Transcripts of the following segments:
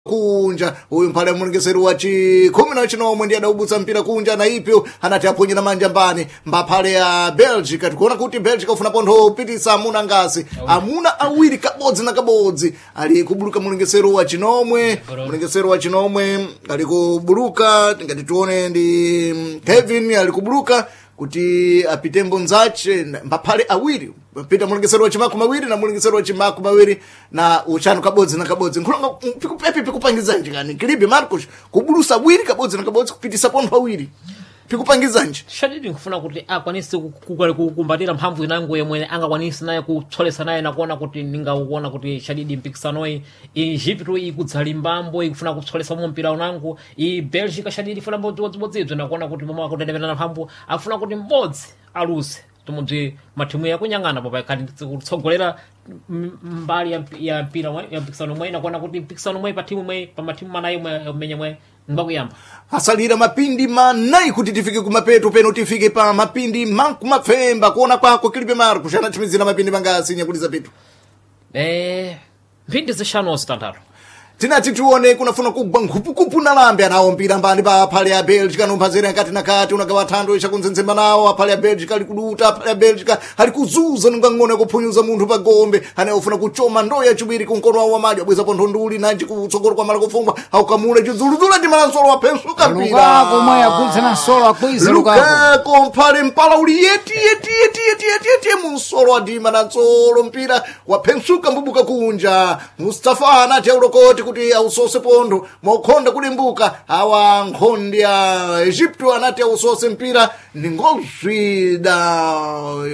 Kunja uyu mphale mulengeseri wa chikhumi na chinomwe ndiye adaubutsa mpira kunja na ipyo anati aponye na manja mbani mbaphale ya Belgica. Tikuona kuti Belgica ufuna pontho upitisa amuna ngasi amuna awiri, kabodzi na kabodzi, ali kubuluka mulengeseri wa chinomwe. Mulengeseri wa chinomwe ali kubuluka, ngati tione ndi Kevin ali kubuluka kuti apitembo nzache mbaphale awiri pita mulengeseri wa chimakumi awiri na mulengeseri wa chimakumi awiri na uchanu, kabodzi na kabodzi. Nkhulonga pikupepi pikupangizanji kani Kilibe Marcos kubulusa awiri kabodzi na kabodzi kupitisa pontho awiri pikupangizanji? Shadidi nkufuna kuti akwanise kukumbatira mphamvu inango yomwe angakwanise naye kutsolesa naye nakuona kuti ningakuona kuti shadidi mpikisanoyi Egypto ikudzalimbambo ikufuna kutsolesa mo mpira unango i Belgica shadidi ifuna mbodzibodzibzo nakuona kuti momwe akutendemerana mphamvu afuna kuti mbodzi aluse tumudzi mathimu yakunyang'ana popa ikhati kutsogolera mbali ya mpira ya mpikisano mwe nakuona kuti mpikisano mwe pa timu mwe pa mathimu manayi mwe umenya mwe ngwakuyamba. Asalira mapindi manayi kuti tifike kumapeto peno, tifike pa mapindi mankumapfemba. Kuona kwako Kilibe Marcos, anathimizira mapindi mangasi nyakuliza pitu? Mphindi zishanu zitanthatu. Tinati tione kunafuna kugwa nkhupukupu na lambe anawo mpira mbani pa aphale ya Belgica nomphazera nkati na kati unagawa thando ichakunzenzemba nawo aphale ya Belgica ali kuduta, aphale ya Belgica ali kuzuza nunga ng'ono yakuphunyuza munthu pa gombe anayofuna kuchoma ndoyo yachiwiri kunkono wawo wamali wabweza pontho nduli nanji kutsogolo kwa mala kufungwa aukamula chidzuluzula ndi malansolo waphensuka mpira. Lukaku mwe agudza na nsolo akwiza Lukaku. Lukaku mphale mpala uli yeti yeti yeti yeti yeti yeti munsolo adima na tsolo mpira waphensuka mbubuka kunja. Mustafa anati aulokoti kuti ausose pontho mwakukhonda kulimbuka awa nkhondi ya Egypto anati ausose mpira ni ngozwi da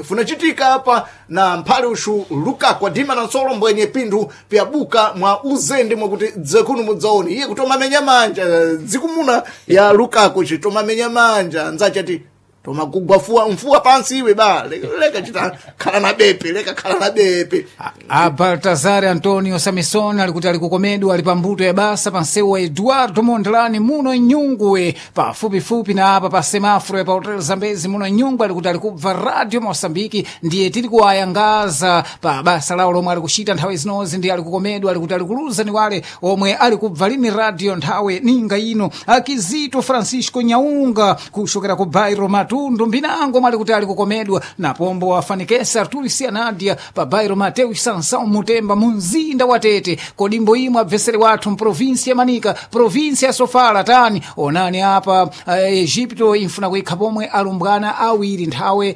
funachitika apa na mphale ushu Lukaku adima na nsolo mbwenye pinthu pyabuka mwa uzende mwakuti dzekunu mudzaone iye kutomamenya manja dzikumuna ya Lukaku chitomamenya manja nzachati tomagugwa fuwa mfuwa pansi iwe ba leka, leka chita khala na bepe leka khala na bepe. A Baltazar Antonio Samison alikuti alikukomedwa ali pambuto ya basa pa nsewu wa Eduardo Mondlane muno Nyungwe pafupifupi na apa pa semafro ya pa Hotel Zambezi muno Nyungwe, alikuti alikubva Radio Mosambiki ndiye tili kuwayangaza pa basa lawo lomwe alikuchita nthawi zinozi ndiye alikukomedwa alikuti alikuluza ni wale omwe alikubva lini radio nthawi ninga ino. Akizito Francisco Nyaunga kuchokera ku Bairo Matundu mbinango mwali kuti alikukomedwa na pombo afanikesa Arturi Sianadia pa Bairo Mateus Sansão Mutemba mu mzinda wa Tete. Kodimbo imwe abvesere wathu mprovinsi ya Manika, provinsi ya Sofala tani onani apa Egipto infuna kuikha pomwe alumbwana awiri nthawe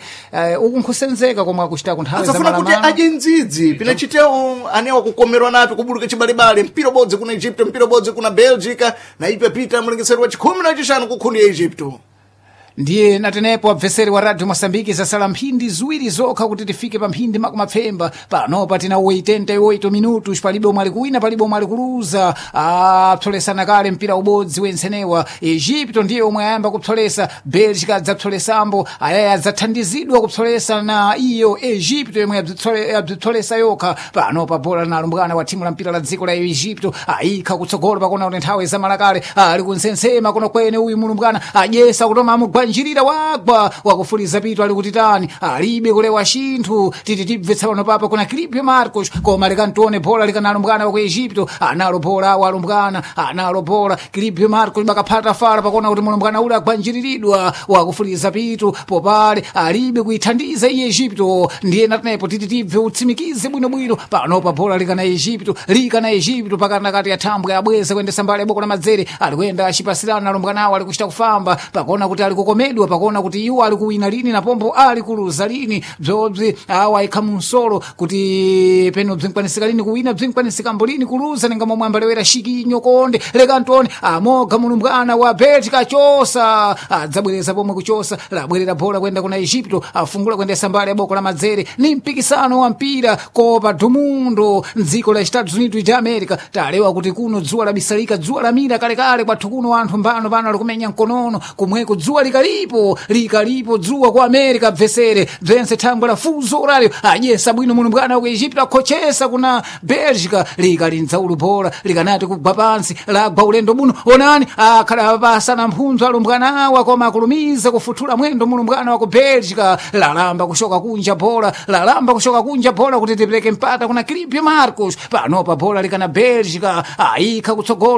uku nkhusenzeka komwe akuchitako nthawe za asafuna kuti malamano. adye ndzidzi pinachitewo anewa kukomerwa napi kubuluka chibalebale mpira ubodzi kuna Egypto mpira ubodzi kuna Belgica na ipe pita mulengeseri wa chikhumi na chishanu kukhundi ya Egypto. Ndiye natenepo abveseri wa Radio Mosambiki zasala mphindi ziwiri zokha kuti tifike pa mphindi makumapfemba. Panopa tina 88 minutos, palibe omwe ali kuwina, palibe omwe ali kuluza. Apsolesana kale mpira ubodzi wensenewa. Egipto ndiye omwe ayamba kupsolesa, Belgica adzapsolesambo ayaya adzathandizidwa kupsolesa na iyo Egipto yomwe yabzipsolesa yokha. Panopa bola na alumbwana wa thimu la mpira la dziko la Egipto ayikha kutsogolo pakona kuti nthawi zamalakale ali kunsensema kuno kwene uyu mulumbwana adyesa kutoma amugwanjirira wagwa wakufuliza pito ali kuti tani alibe kulewa chinthu titi tibvetsa pano papa kuna Kilipio Marcos koma likantione bola likana alumbwana wa ku Egipto analo bola awo alumbwana analo bola Kilipio Marcos bakaphata fala pakona kuti mulumbwana ule agwanjiriridwa wakufuliza pito popale alibe kuithandiza iye Egipto. Ndiye natenepo titi tibve utsimikize bwinobwino. Panopa bola likana Egipto, likana Egipto pakati ya thambwe abweza kuyendesa mbali ya boko la madzere alikuyenda acipasirana alumbwanawo alikuchita kufamba pakona kuti alikukomedwa pakona kuti iwo alikuwina lini na pombo alikuluza lini bzobzi awo ayikha munsolo kuti peno bzinkwanisika lini kuwina bzinkwanisikambho lini kuluza ninga momwe ambalewera shikinyo konde leka ntone amoga mulumbwana wa Belgica chosa adzabwereza pomwe kuchosa labwerera bola kuyenda kuna Egipto afungula kuyendesa mbali ya boko la madzere ni mpikisano wa mpira Copa do Mundo mdziko la Estados Unidos de America. Talewa kuti kuno dzuwa labisalika dzuwa lamira kalekale kwathu kuno anthu mbano pano alikumenya mkonono kumweko dzuwa likalira. Likalipo, likalipo dzuwa ku America bvesere bvense thangwe la fuzo horário adyesa bwino mulumbwana wa ku Egipto akhochesa kuna Bélgica likalindza ulu bola likanati kugwa pansi lagwa ulendo buno. Onani akhala pasana mphunzo alumbwana awa, koma akulumiza kufuthula mwendo mulumbwana wa ku Bélgica. Lalamba kushoka kunja bola, lalamba kushoka kunja bola kuti tipereke mpata kuna Clipio Marcos. Panopa bola likana Bélgica ayikha kutsogolo.